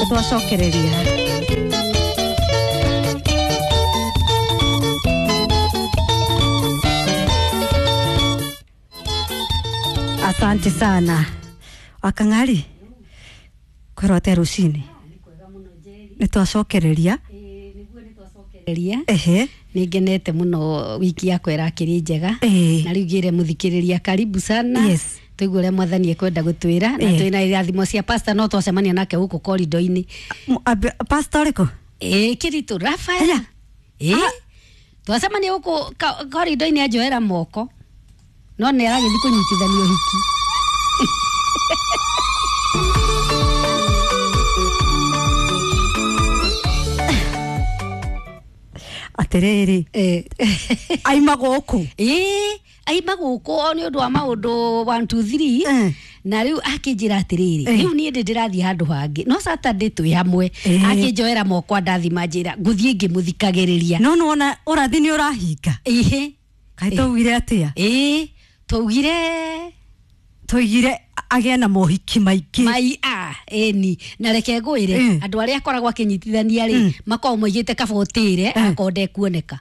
Nĩ twacokereria. Asante sana Wakang'ari, kwĩrwo atĩa rũcinĩ? Nĩ twacokereria. Ria. Ehe. Nä ngenete må no, wiki yakwa ĩrakĩrĩ njega. Na rĩu ngĩre mũthikĩrĩria karibu sana. Tũigue ũrĩa mwathani ekwenda gũtwĩra na twĩna irathimo cia pastor, no twacemania nake gũkũ korido-inĩ. Pastor ũrĩkũ? Ĩ, Kĩritũ Rafael. Aya. Ĩ, twacemania gũkũ korido-inĩ, anjoera moko, no nĩ aragĩthiĩ kũnyitithania ũhiki. Atĩrĩrĩ, aima gũkũ? Ĩ, aima gũkũ o nĩ ũndũ wa maũndũ 1 2 3. Na rĩu akĩnjĩra atĩrĩrĩ, rĩu niĩ ndĩ ndĩrathiĩ handũ hangĩ, no Saturday twĩ hamwe. Akĩnjoera moko, andathima, njĩra ngũthiĩ ngĩmũthikagĩrĩria. No nĩwona ũrathi nĩ ũrahinga. Ihe. Kaĩ twaugire atĩa? Ĩ, twaugire Twaugire agĩe na mohiki maingĩ. Mai a ĩni, na reke ngwĩre, andũ arĩa akoragwo akĩnyitithania rĩ, makoragwo moigĩte kaba ũtĩre akorwo ndekuoneka.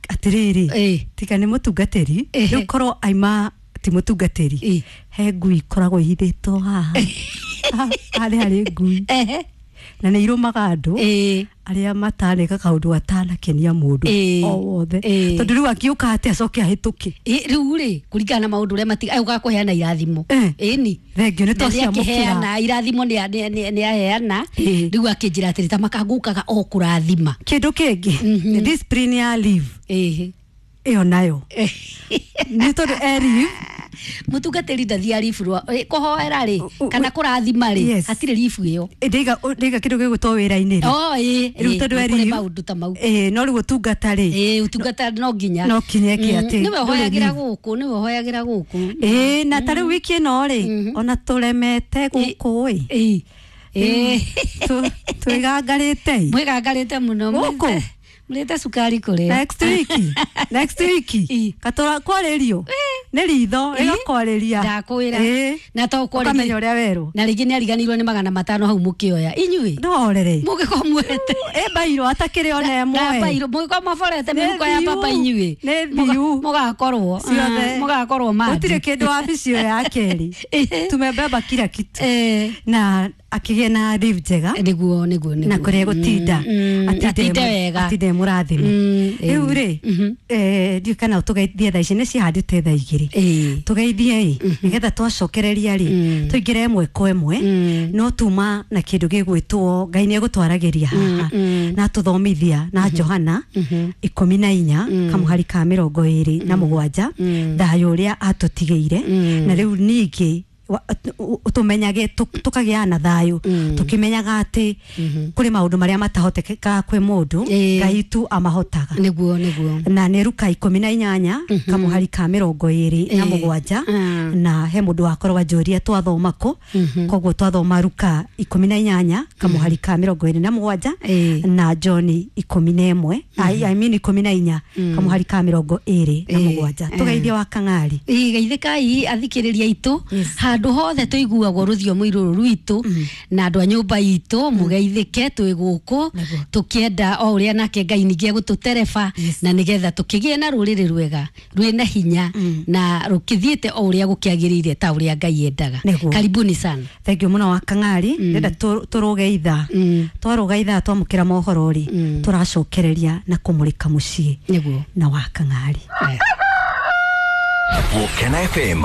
Atĩrĩrĩ, tiga nĩ mũtungatĩri, rĩu korwo aima ti mũtungatĩri, he ngui ikoragwo ihithĩtwo haha harĩa harĩ ngui, na nĩ irũmaga andũ arĩa mataneka kaũndũ gatanakenia mũndũ o wothe, tondũ rĩu akiũka atĩ acoke ahĩtũke. Ĩ, rĩu rĩ, kũringana na maũndũ ũrĩa matiga ũgaga kũheana irathimo. Ĩni. Thengio, nĩ Na twaciamũkĩra. nĩakĩheana irathimo, nĩ aheana. Rĩu akĩnjĩra atĩrĩ, ta makangũkaga o kũrathima. Kĩndũ kĩngĩ nĩ discipline ya leave. Ĩyo nayo nĩ tondũ e leave. Mũtungatĩri ndathiaga ribu rwa kũhoera rĩ, kana kũrathima rĩ, hatirĩ ribu ĩyo. Ndĩiga kĩndũ gĩgwĩtwo wĩra-inĩ rĩ. Oh, ĩ, Rĩu tondũ e nĩ kũrĩ leave, maũndũ ta mau. No rĩu ũtungata rĩ, Ĩ, ũtungata no nginya. No kinya ĩke atĩ Nĩwe ndũrĩ ũhoyagĩra leave. gũkũ, nĩwe ũhoyagĩra gũkũ. Ĩ, na ta rĩu wiki ĩno rĩ, ona tũremete gũkũ ĩ. Ĩ. Twĩgangarĩte ĩ. Mwĩgangarĩte mũno. Gũkũ? Mũrĩte cukari kũrĩa. Next week, next week, katũra kwarĩrio nĩ ritho rĩgakwarĩria. Ndakwĩra. Na to kwarĩria. Ũkamenya ũrĩa werwo. Na rĩngĩ nĩ ariganĩirwo nĩ 500 hau mũkĩoya inyuĩ. Ndorere. Mũngĩkorwo muoete. Ĩ, mbairwo atakĩrĩ ona ĩmwe. Mbairũ mũngĩkorwo maborete Nĩ mĩhuko ya thiu. papa inyuĩ. Nĩ thiu. Mũgakorwo Ciothe. Mũgakorwo mandi. Gũtirĩ kĩndũ wabici ĩyo ya kerĩ, tumebeba kila kitu. Na akĩgĩa na leave njega. Nĩguo. Na kũrĩa gũtinda Atinde wega. atinde mũrathime. Rĩu rĩ, ndiũĩ kana tũgeithie thaa ici, nĩ cihandĩte thaa 2. Tũgeithie ĩ, nĩgetha twacokereria rĩ, tũingĩre ĩmwe kwa ĩmwe. No tuma na kĩndũ gĩgwĩtwo Ngai nĩ egũtwaragĩria haha na tũthomithia na Johana 14 kamũhari ka 27, thayũ ũrĩa atũtigĩire. Na rĩu ningĩ tũmenyage tũkagĩa na thayũ, tũkĩmenyaga atĩ kũrĩ maũndũ marĩa matahotekekaga kwĩ mũndũ, Ngai tu amahotaga. Nĩguo. Na nĩ Ruka 18 kamũhari ka 27. Na he mũndũ wakorwo anjũria twathoma kũ, koguo twathoma Ruka 18 kamũhari ka 27 na John 11, I mean 14 kamũhari ka 27. Tũgeithie wa Kang'ari. Ĩ, geithĩkai athikĩrĩria aitũ handũ hothe tũiguagwo rũthiomi rũrũ rwitũ, na andũ a nyũmba itũ mũgeithĩke, twĩ gũkũ tũkĩenda o ũrĩa nake Ngai ningĩ egũtũtereba, na nĩgetha tũkĩgĩe na rũrĩrĩ rwega rwĩna hinya na rũkĩthiĩte o ũrĩa gũkĩagĩrĩire ta ũrĩa Ngai endaga. Karibuni sana. Thengio mũno wa Kang'ari. Ndĩrenda tũrũge ithaa, twarũga ithaa twamũkĩra mohoro rĩ, tũracokereria na kũmũrĩka mũciĩ na wa Kang'ari. Gũkena FM.